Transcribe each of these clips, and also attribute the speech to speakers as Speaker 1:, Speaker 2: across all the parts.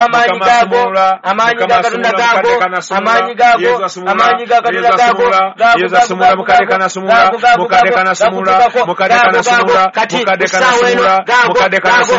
Speaker 1: Amaanyi gaago, amaanyi ga Katonda gaago, amaanyi gaago, amaanyi ga Katonda gaago, gaago, gaago, gaago, gaago, gaago, gakutuukako, gaago, gaago, kati ku ssaawa eno, gaago, gaago, gaago,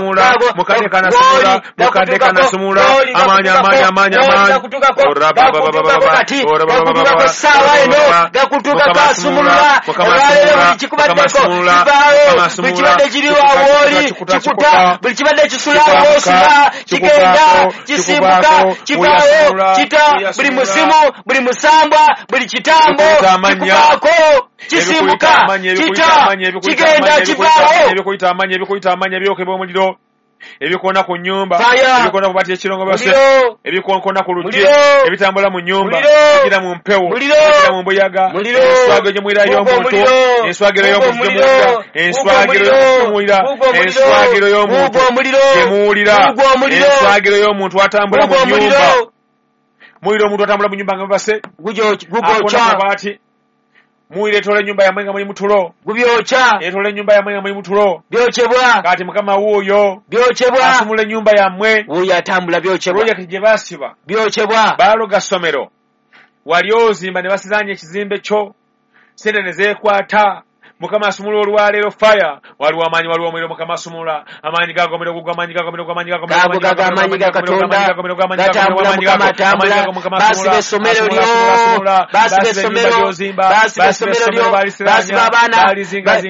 Speaker 1: gooli, gakutuukako, gooli, gakutuukako, gooli, gakutuukako, gakutuukako kati, gakutuukako essaawa eno, gakutuukako asumulula, olwaleero buli kikubaddeko kivaawo, buli kibadde kiriwo awo wooli kikuta, buli kibadde kisula awo w'osula kigenda, kisimbuka, kivaawo, kita, buli musimu, buli musambwa, buli kitambo kikuvaako, kisimbuka, kita, kigenda, kivaawo.
Speaker 2: Ebikuyita amannya, ebikuyita amannya, ebyokebwa omuliro, ebikoona ku nnyumba,
Speaker 1: Fire.
Speaker 2: ebikoona ku bati ekirongo base,
Speaker 1: Muliro.
Speaker 2: ebikonkona ku luggi,
Speaker 1: Muliro.
Speaker 2: ebitambula mu nnyumba,
Speaker 1: Muliro.
Speaker 2: ebigira mu mpewo,
Speaker 1: Muliro.
Speaker 2: ebigira mu mbuyaga,
Speaker 1: Muliro.
Speaker 2: enswagiro gye muwulira
Speaker 1: Gugo
Speaker 2: y'omuntu,
Speaker 1: omuliro.
Speaker 2: enswagiro
Speaker 1: Gugo
Speaker 2: y'omuntu gye
Speaker 1: omuliro.
Speaker 2: muwulira, enswagiro
Speaker 1: Gugo
Speaker 2: y'omuntu gye muwulira,
Speaker 1: Gugo omuliro.
Speaker 2: enswagiro y'omuntu
Speaker 1: Gugo omuliro.
Speaker 2: gye muwulira,
Speaker 1: Gugo omuliro.
Speaker 2: enswagiro y'omuntu atambula mu
Speaker 1: Gugo
Speaker 2: nnyumba,
Speaker 1: omuliro.
Speaker 2: muwulira omuntu atambula mu nnyumba nga mubase,
Speaker 1: Gubyokya.
Speaker 2: akoona ku mabaati, muwulira etoola ennyumba yammwe nga muli mu tulo,
Speaker 1: Gubyokya.
Speaker 2: etoola ennyumba yammwe nga muli mu tulo,
Speaker 1: Byokyebwa.
Speaker 2: kati Mukama wuuyo
Speaker 1: Byokyebwa.
Speaker 2: asumula ennyumba yammwe.
Speaker 1: Wuuyo atambula byokyebwa.
Speaker 2: Pulojekiti gye baasiba,
Speaker 1: Byokyebwa.
Speaker 2: baaloga ssomero, wali ozimba ne basizaanya ekizimbe kyo, ssente ne zeekwata. Mukama asumula olwaleero fire, waliwo amaanyi, waliwo omuliro, Mukama asumula amaanyi gaago, omuliro gugwo, amaanyi gaago, omuliro gwo, amaanyi gaago,
Speaker 1: Gaago, gaago, amaanyi ga Katonda. Gatambula, Mukama atambula. Baasiba essomero lyo. Baasiba essomero. Baasiba essomero lyo. Baasiba abaana.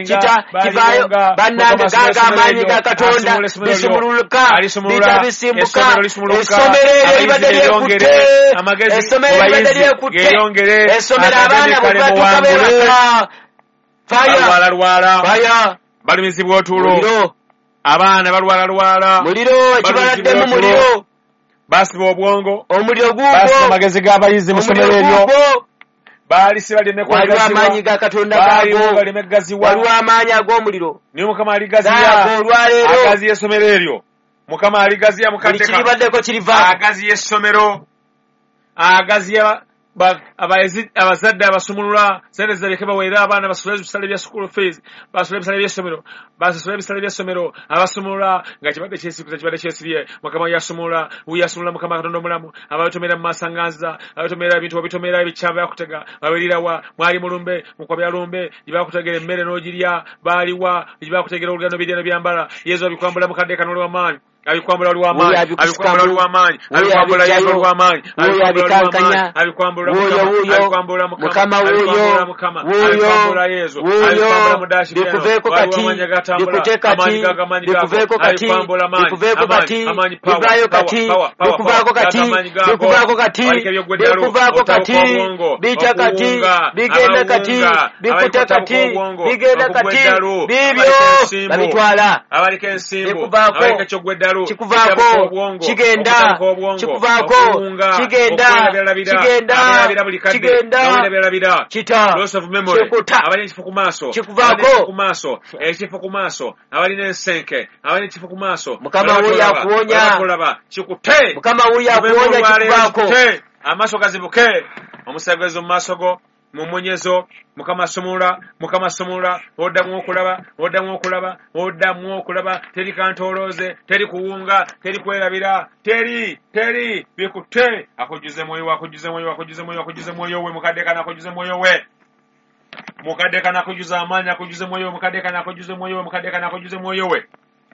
Speaker 1: Kita, kivaayo. Bannange, gaago amaanyi ga Katonda. Bisumuluka. Bita bisimbuka. Essomero eryo libadde lyekutte. Essomero libadde lyekutte. Essomero abaana bwe batuuka beebaka. Fire.
Speaker 2: Balwalalwala,
Speaker 1: Fire.
Speaker 2: balumizibwa otulo,
Speaker 1: Muliro.
Speaker 2: abaana balwalalwala,
Speaker 1: Muliro. Ekibaladdemu muliro.
Speaker 2: baasiba obwongo,
Speaker 1: Omuliro
Speaker 2: baasiba
Speaker 1: guugwo.
Speaker 2: amagezi g'abayizi mu ssomero
Speaker 1: Omuliro
Speaker 2: eryo,
Speaker 1: guugwo.
Speaker 2: baalisiba lireme
Speaker 1: Waliwo amaanyi
Speaker 2: kugaziwa,
Speaker 1: ga Katonda
Speaker 2: baaliwo
Speaker 1: gaago.
Speaker 2: baleme kugaziwa,
Speaker 1: Waliwo amaanyi ag'omuliro.
Speaker 2: naye Mukama aligaziya,
Speaker 1: Gaago olwaleero.
Speaker 2: agaziya essomero eryo, Mukama aligaziya
Speaker 1: Buli
Speaker 2: mukadde ka
Speaker 1: kiribaddeko kirivaako.
Speaker 2: agaziya essomero, agaziya abazadde abasumulula sente zireke baweere abaana basasule ebisale bya school fees, basasule ebisale by'essomero, basasule ebisale by'essomero, abasumulula nga kibadde kyesikuza, kibadde kyesibye, Mukama yasumulula, yasumulula Mukama Katonda omulamu, ababitomera mu masanganza, ababitomera ebintu, babitomera ebikyama bakutega, babirirawa, mwali mulumbe, mukwabya lumbe, gye bakutegera emmere n'ogirya, baaliwa, gye bakutegera olugendo birya n'obyambala, Yesu abikwambula mukadde kano oli w'amaanyi, abikwambula oli w'amaanyi,
Speaker 1: Wuuyo abikusukamu.
Speaker 2: abikwambula oli w'amaanyi,
Speaker 1: Wuuyo
Speaker 2: abikwambula Yesu
Speaker 1: abijjayo.
Speaker 2: oli w'amaanyi,
Speaker 1: Wuuyo
Speaker 2: abikwambula oli w'amaanyi,
Speaker 1: abikankanya.
Speaker 2: abikwambula
Speaker 1: Wuuyo,
Speaker 2: Mukama,
Speaker 1: wuuyo.
Speaker 2: abikwambula Mukama,
Speaker 1: Mukama wuuyo.
Speaker 2: abikwambula Mukama,
Speaker 1: Wuuyo.
Speaker 2: abikwambula Yesu,
Speaker 1: Wuuyo.
Speaker 2: abikwambula mu dashi eno.
Speaker 1: Bikuveeko
Speaker 2: Waliwo
Speaker 1: kati.
Speaker 2: amaanyi agatambula,
Speaker 1: Bikute kati.
Speaker 2: amaanyi gago, amaanyi gago,
Speaker 1: Bikuveeko kati.
Speaker 2: abikwambula amaanyi,
Speaker 1: Bikuveeko
Speaker 2: amaanyi,
Speaker 1: kati.
Speaker 2: amaanyi, power,
Speaker 1: Bivaayo
Speaker 2: power,
Speaker 1: kati.
Speaker 2: power, power,
Speaker 1: Bikuvaako
Speaker 2: power.
Speaker 1: kati.
Speaker 2: Gago amaanyi gago.
Speaker 1: Bikuvaako kati.
Speaker 2: Waliko eby'ogweddalu,
Speaker 1: Bikuvaako
Speaker 2: otabuka
Speaker 1: kati.
Speaker 2: obwongo,
Speaker 1: Bijja kati.
Speaker 2: okuwunga,
Speaker 1: Bigenda kati.
Speaker 2: abawunga,
Speaker 1: Bikuta
Speaker 2: abaliko otabuka
Speaker 1: kati.
Speaker 2: obwongo,
Speaker 1: Bigenda kati.
Speaker 2: okugweddalu,
Speaker 1: Biibyo.
Speaker 2: abaliko ensimbu,
Speaker 1: Babitwala.
Speaker 2: abaliko ensimbu,
Speaker 1: Bikuvaako.
Speaker 2: abaliko eky'ogweddalu,
Speaker 1: Kikuvaako.
Speaker 2: ekitabuka obwongo,
Speaker 1: Kigenda.
Speaker 2: okutabuka obwongo,
Speaker 1: Kikuvaako.
Speaker 2: okuwunga,
Speaker 1: Kigenda.
Speaker 2: okwerabirabira,
Speaker 1: Kigenda.
Speaker 2: abeerabira buli kadde,
Speaker 1: Kigenda.
Speaker 2: nga weerabirabira.
Speaker 1: Kita.
Speaker 2: Loss of memory.
Speaker 1: Kikuta.
Speaker 2: Abalina ekifo ku maaso.
Speaker 1: Kikuvaako.
Speaker 2: Abalina ekifo ku maaso. Ekifo ku maaso. Abalina ensenke. Abalina ekifo ku maaso.
Speaker 1: Mukama
Speaker 2: Balaba
Speaker 1: wuuyo
Speaker 2: tolaba.
Speaker 1: akuwonya.
Speaker 2: Balaba tolaba. Kikute.
Speaker 1: Mukama wuuyo
Speaker 2: Kubeemu
Speaker 1: akuwonya
Speaker 2: olwaleero
Speaker 1: kikuvaako.
Speaker 2: kikute. Amaaso gazibuke. Omusaayi mu maaso go. Mu mmunyezo. Mukama asumulula. Mukama asumulula. Oddamu okulaba. Oddamu okulaba. Oddamu okulaba. Teri kantoolooze. Teri kuwunga. Teri kwerabira. Teri. Teri. Bikute. Akujjuze mwoyo we. Akujjuze mwoyo we. Akujjuze mwoyo we. Akujjuze mwoyo we. Mukadde kana akujjuze mwoyo we. Mukadde kana akujjuze amaanyi. Akujjuze mwoyo we. Mukadde kana akujjuze mwoyo we. Mukadde kana akujjuze mwoyo we.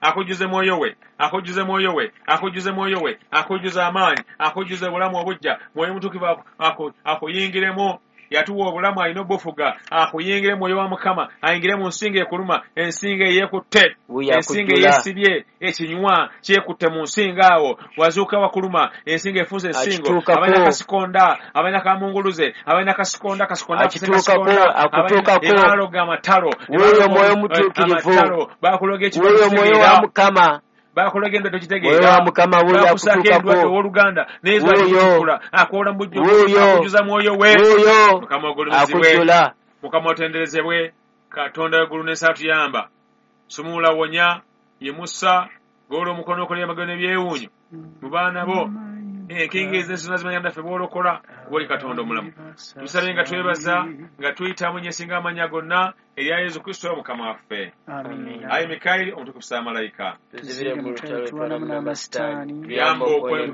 Speaker 2: Akujjuze mwoyo we. Akujjuze mwoyo we. Akujjuze mwoyo we. Akujjuze amaanyi. Akujjuze obulamu obuggya. Mwoyo mutukuvu akuyingiremu. Yatuwa obulamu alina obufuga. Akuyingire mwoyo wa Mukama. Ayingire mu nsingo ekuluma. Ensingo eyeekutte.
Speaker 1: Wuuyo
Speaker 2: Ensingo
Speaker 1: akujjula.
Speaker 2: eyesibye. Ekinywa kyekutte mu nsingo awo. Wazuuka wakuluma. Ensingo efuuse ensingo.
Speaker 1: Akituukako.
Speaker 2: Abalina kasikonda. Abalina kamunguluze. Abalina kasikonda. Kasikonda afuse
Speaker 1: Akituukako.
Speaker 2: kasikonda.
Speaker 1: Akutuukako.
Speaker 2: Abalina amatalo.
Speaker 1: Wuuyo mwoyo mutuukirivu.
Speaker 2: Amatalo. Bakuloga ekirwadde
Speaker 1: Wuuyo mwoyo wa
Speaker 2: okitegeera.
Speaker 1: Mukama.
Speaker 2: Bakuloga endwadde okitegeera.
Speaker 1: Mwoyo wa Mukama wuuyo
Speaker 2: Bakusaako
Speaker 1: akutuukako.
Speaker 2: endwadde owooluganda. Naye Yesu
Speaker 1: Wuuyo.
Speaker 2: alikutikkula. Akwola mu bujjuvu.
Speaker 1: Wuuyo.
Speaker 2: Akujjuza mwoyo we.
Speaker 1: Wuuyo
Speaker 2: Mukama ogulumizibwe.
Speaker 1: akujjula.
Speaker 2: Mukama otenderezebwe. Katonda w'eggulu n'ensi atuyamba. Sumula wonya. Yimusa. Golola omukono okola ebyamagero n'ebyewuunyo. Mu baana bo. Enkinga ezensi nazimanya naffe bw'olokola, kuba oli Katonda omulamu. Tusabye nga twebaza nga tuyita mu nyesinga amanya gonna erya Yesu Kristo Mukama waffe.
Speaker 1: Amiina.
Speaker 2: Ayi Mikayiri omutukufu Saamalayika,
Speaker 3: Tuzibire mu lutalo twanamu n'amasitaani.
Speaker 2: Tuyambe okwera.